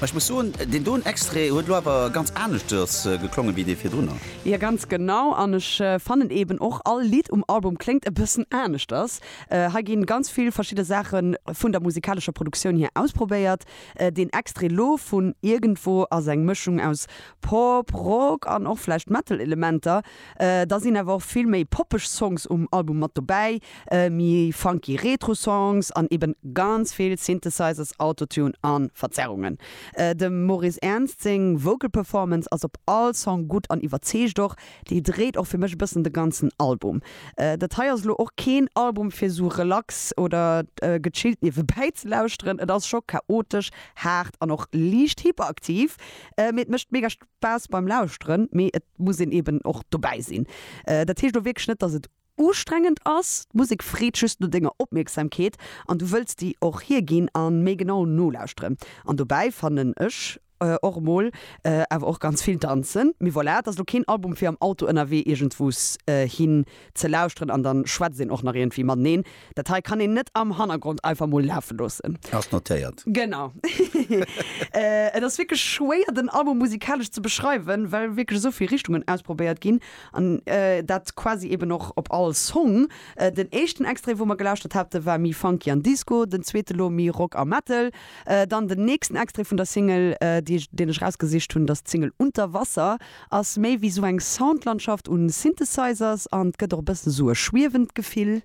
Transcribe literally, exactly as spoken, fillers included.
Ma ech muss soen, deen doen Extrait huet lo awer ganz aneschters geklongen wéi dee virdrunner. Jo, ganz genau. An ech fannen eben och, all Lidd um Album kléngt e bëssen aneschters. Hei ginn ganz vill verschidde Saache vun der musikalescher Produktioun hier ausprobéiert. Deen Extrait lo vun Irgendwo ass eng Mëschung aus Pop, Rock an och vläicht Metal-Elementer. Da sinn awer och vill méi poppeg Songs um Album mat dobäi, méi funky Retro-Songs an eben ganz vill Synthesizers, Autotune a Verzerrungen. Dem Maurice Ernst seng Vocal Performance ass op all Song gutt an iwwerzeegt och. Déi dréit och fir mech e bëssen de ganzen Album. Dat hei ass elo och keen Album fir sou relax oder gechillt niewebäi ze lauschteren. Et ass scho chaotesch, haart an och liicht hyperaktiv, mee et mécht mega Spaass beim Lauschteren, mee et muss een eben och dobäi sinn. Dat heescht elo wierklech net, dass et ustrengend ass, d'Musek freet just no denger Opmierksamkeet an du wëlls déi och hierginn a méi genau nolauschteren. An dobäi fannen ech och emol awer och ganz vill danzen. Mee voilà, et ass elo keen Album fir am Auto ënnerwee iergendwous hin ze lauschteren an dann schwätzt een och nach iergendwéi mateneen. Dat hei kann een net am Hannergrond einfach mol lafe loossen. Ass notéiert. Genau. Et ass wierklech schwéier den Album musikalesch ze beschreiwen, well wierklech esou vill Richtungen ausprobéiert ginn an dat quasi eben och op all Song. Den éischten Extrait wou mer gelauschtert hate war méi funky an Disco, den zweete lo méi Rock a Metal. Dann den nächsten Extrait vun der Single déi deen ech rausgesicht hunn, dass d'Single Unter Wasser ass méi wéi sou eng Soundlandschaft un Synthesizers an et gëtt och e bëssen sou e schwiewend Gefill.